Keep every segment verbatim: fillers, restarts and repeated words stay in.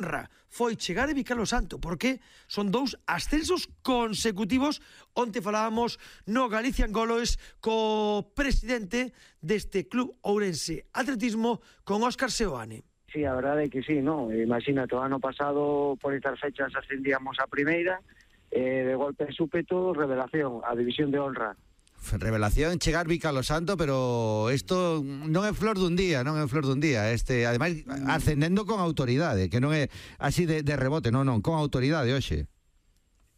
honra foi chegar a Vicalo Santo, porque son dous ascensos consecutivos. Onte falábamos no Galician Golos co presidente deste club ourense atletismo, con Óscar Seoane. Sí, a verdade é que sí, ¿no? Imagínate, o ano pasado por estas fechas ascendíamos a primeira, eh, de golpe súpeto, revelación, a división de honra. Revelación, chegar Vicalo Santo, pero isto non é flor dun día, non é flor dun día. Este, ademais, ascendendo con autoridade, que non é así de, de rebote, non, non, con autoridade, hoxe.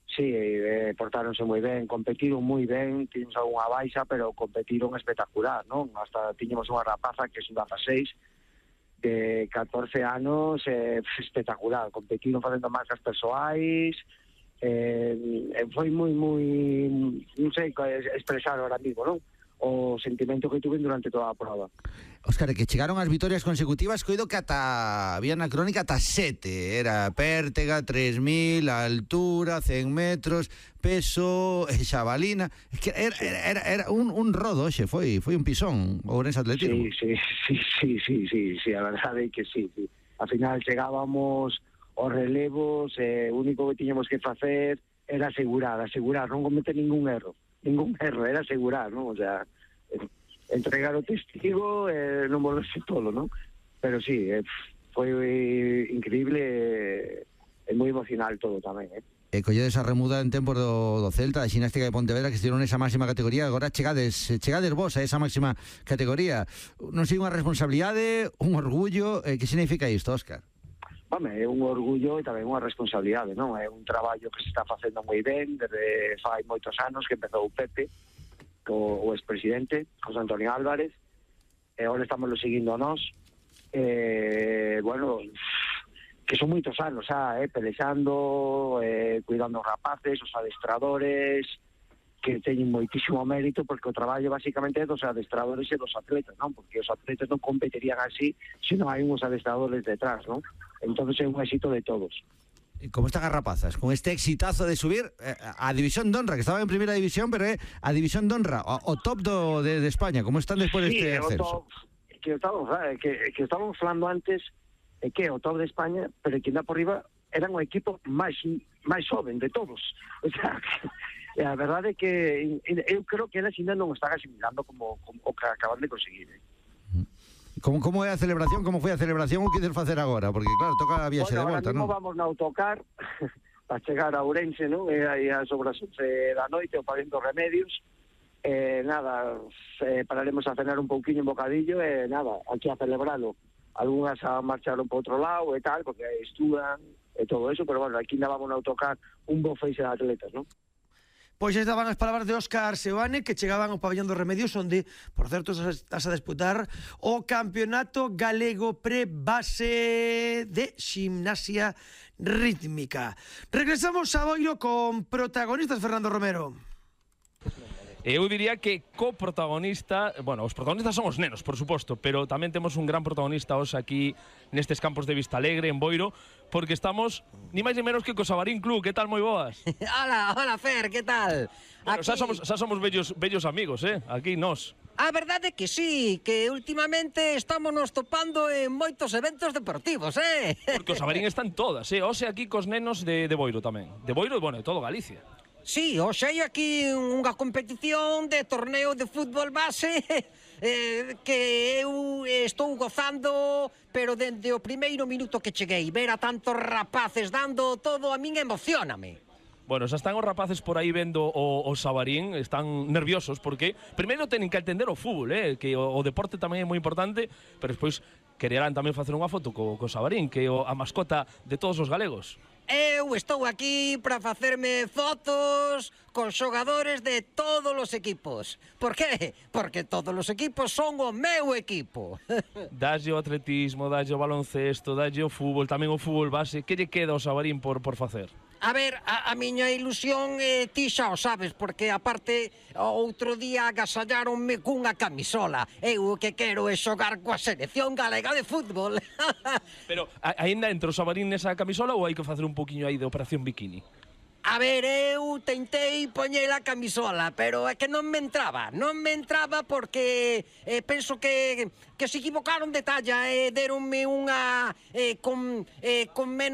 Sí, eh, portáronse moi ben, competiron moi ben, tiñemos algunha baixa, pero competiron espectacular, non? Hasta tiñemos unha rapaza que é un dezaseis, de catorce anos, eh, espectacular, competiron facendo marcas persoais. Eh, foi moi, moi, non sei expresar ahora mismo, non? O sentimento que tuve durante toda a prova. Óscar, que chegaron as vitorias consecutivas, coido que ata, había na crónica ata sete, era pértega, tres mil, altura, cen metros, peso, xabalina, es que era, era, era un, un rodo, xe, foi, foi un pisón, o Ourense Atletismo. Sí, sí, sí, sí, sí, sí, sí, a verdade é que sí, sí. Al final chegábamos os relevos, eh, o único que tiñamos que facer era asegurar, asegurar, non cometer ningún erro, ningún erro, era asegurar, non? O sea, entregar o testigo, eh, non volverse todo, non? Pero sí, eh, foi increíble e eh, moi emocional todo tamén, eh? E colledes a remuda en tempos do, do Celta, da xinástica de Pontevedra, que estiveron nesa máxima categoría, agora chegades, chegades vos a esa máxima categoría. Non sei, unha responsabilidade, un orgullo, eh, que significa isto, Óscar? Home, é un orgullo e tamén unha responsabilidade, non? É un traballo que se está facendo moi ben desde fai moitos anos que empezou o Pepe, o, o expresidente, José Antonio Álvarez, e agora estamos lo seguindo nós. Eh, bueno, que son moitos anos, ah, eh, pelexando, eh, cuidando os rapaces, os adestradores, que teñen moitísimo mérito, porque o traballo basicamente é dos adestradores e dos atletas, non? Porque os atletas non competirían así se non hai uns adestradores detrás, non? Entonces é un éxito de todos. Como están as rapazas? Con este exitazo de subir eh, a División de Honra, que estaba en Primeira División, pero é eh, a División de Honra, o, o top do, de, de España. Como están despois sí, deste ascenso? Sí, que estamos, que, que estábamos falando antes, é que o top de España, pero que anda por riba eran o equipo máis máis joven de todos. O sea, que, a verdade é que eu creo que eles ainda non están asimilando como, como o que acaban de conseguir, eh? Como, como é a celebración? Como foi a celebración? O que queres facer agora? Porque claro, toca a viaxe bueno, de volta, non? Bueno, vamos no autocar para chegar a Ourense, non? E aí as obras da noite, o pavimento Remedios. Eh, nada, eh, pararemos a cenar un pouquiño, un bocadillo, e eh, nada, aquí a celebralo. Algúnas a marcharon por outro lado e tal, porque estudan e todo eso, pero bueno, aquí ainda vamos a autocar un bo feixe de atletas, non? Pois estaban as palabras de Óscar Seoane, que chegaban ao pabellón dos Remedios, onde, por certo, estás a disputar o Campeonato Galego Pre-Base de Ximnasia Rítmica. Regresamos a Boiro con protagonistas, Fernando Romero. Eu diría que co-protagonista, bueno, os protagonistas son os nenos, por suposto, pero tamén temos un gran protagonista hoxe aquí nestes campos de Vista Alegre, en Boiro, porque estamos ni máis ni menos que co Sabarín Club. Que tal, moi boas? Hola, hola Fer, que tal? Bueno, aquí... xa somos, xa somos bellos, bellos amigos, eh? Aquí nós. A verdade é que sí, que últimamente estamos nos topando en moitos eventos deportivos, eh? Porque o Sabarín están todas, eh? Hoxe aquí cos nenos de, de Boiro tamén. De Boiro e, bueno, de todo Galicia. Sí, hoxe hai aquí unha competición de torneo de fútbol base eh, que eu estou gozando, pero dende o primeiro minuto que cheguei, ver a tantos rapaces dando todo a min emocioname. Bueno, xa están os rapaces por aí vendo o, o Sabarín, están nerviosos porque primeiro tenen que entender o fútbol, eh, que o, o deporte tamén é moi importante, pero despois quererán tamén facer unha foto co, co Sabarín, que é o, a mascota de todos os galegos. Eu estou aquí para facerme fotos con xogadores de todos os equipos. Por qué? Porque todos os equipos son o meu equipo. Dalle o atletismo, dalle o baloncesto, dalle o fútbol, tamén o fútbol base. Que lle queda ao Sabarín por, por facer? A ver, a, a miña ilusión eh, ti xa o sabes, porque aparte outro día agasallaronme cunha camisola. Eu o que quero é xogar coa selección galega de fútbol. Pero aínda entra o Sabarín nesa camisola ou hai que facer un poquinho aí de operación bikini? A ver, eu tentei poñer a camisola, pero é que non me entraba. Non me entraba porque eh, penso que, que se equivocaron de talla e eh, deronme unha eh, con, eh, con menos